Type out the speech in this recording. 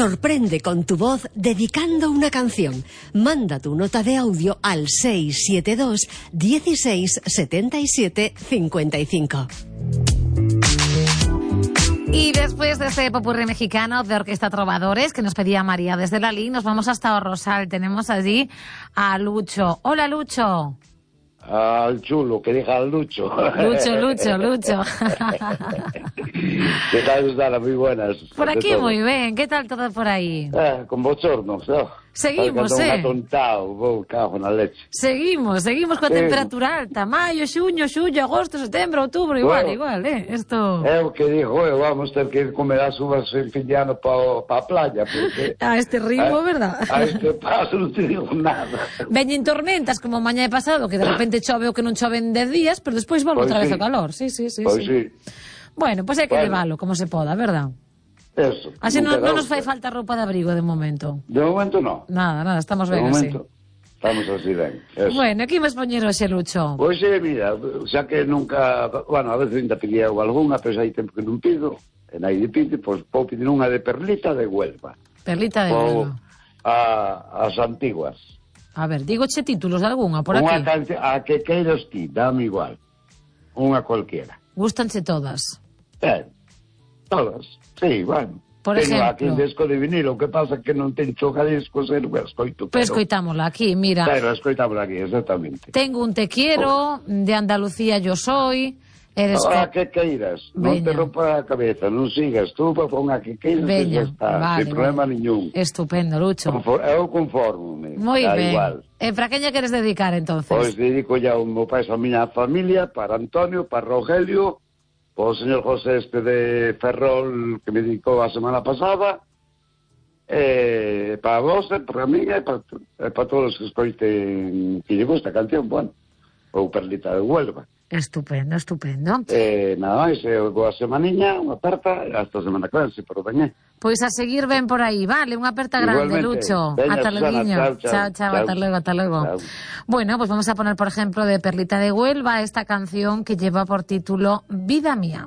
Sorprende con tu voz dedicando una canción. Manda tu nota de audio al 672 16 77 55. Y después de este popurrí mexicano de Orquesta Trovadores que nos pedía María desde Lalín, nos vamos hasta Rosal. Tenemos allí a Lucho. Hola, Lucho. Al chulo, que deja al Lucho. Lucho. ¿Qué tal, Susana? Muy buenas. Por aquí muy bien. ¿Qué tal todo por ahí? Con bochornos, ¿no? Seguimos, cago na leche. Seguimos coa temperatura alta. Maio, xuño, agosto, setembro, outubro, igual, Esto... É o que digo, vamos ter que ir comer as uvas en fin de ano pa playa, porque... A este ritmo, verdad? A este paso non te digo nada. Veñen tormentas, como mañá e pasado, que de repente chove o que non chove en 10 días, pero despois volve outra vez o calor. Sí. Bueno, pois hai que leválo, como se poda, verdad? Eso. Así non nos fai falta roupa de abrigo de momento. De momento non. Nada, estamos ben así. Estamos así ben. Eso. Bueno, que imos poñer hoxe, Lucho? Pois mira, xa que nunca... Bueno, a veces ainda pedía algunha, pero xa hai tempo que non pido. E nai de pide, pois vou pedir unha de Perlita de Huelva. Perlita de Huelva. As antiguas. A ver, digoche títulos de algunha por aquí. A que queiras ti, dame igual. Unha cualquiera. Gústanse todas? Todas. Sí, bueno. Por ejemplo, aquí un disco de vinilo, o que pasa que non ten discos, non escoito. Pues escoitámola aquí, mira. Pero escoitámola aquí, exactamente. Tengo un Te quiero, de Andalucía yo soy. A que queiras, non te rompa a cabeza, non sigas tú, pon a que queiras e xa está, sin problema niñún. Estupendo, Lucho. Eu conformo-me. Moi ben. E para quen lle queres dedicar, entonces? Pois dedico ya o meu pai, a miña familia, para Antonio, para Rogelio, o señor José de Ferrol, que me dedicou a semana pasada, para vos, para mí, e para todos os que escoiten que lle gusta a canción, bueno, ou Perlita de Huelva. Estupendo. Nada máis, boa semaniña, unha aperta, hasta a semana que ven, pero veñe. Pois a seguir ben por aí, vale, unha aperta grande, Lucho. Ata logo. Chao, ata logo. Bueno, pues vamos a poner, por ejemplo, de Perlita de Huelva esta canción que lleva por título Vida Mía.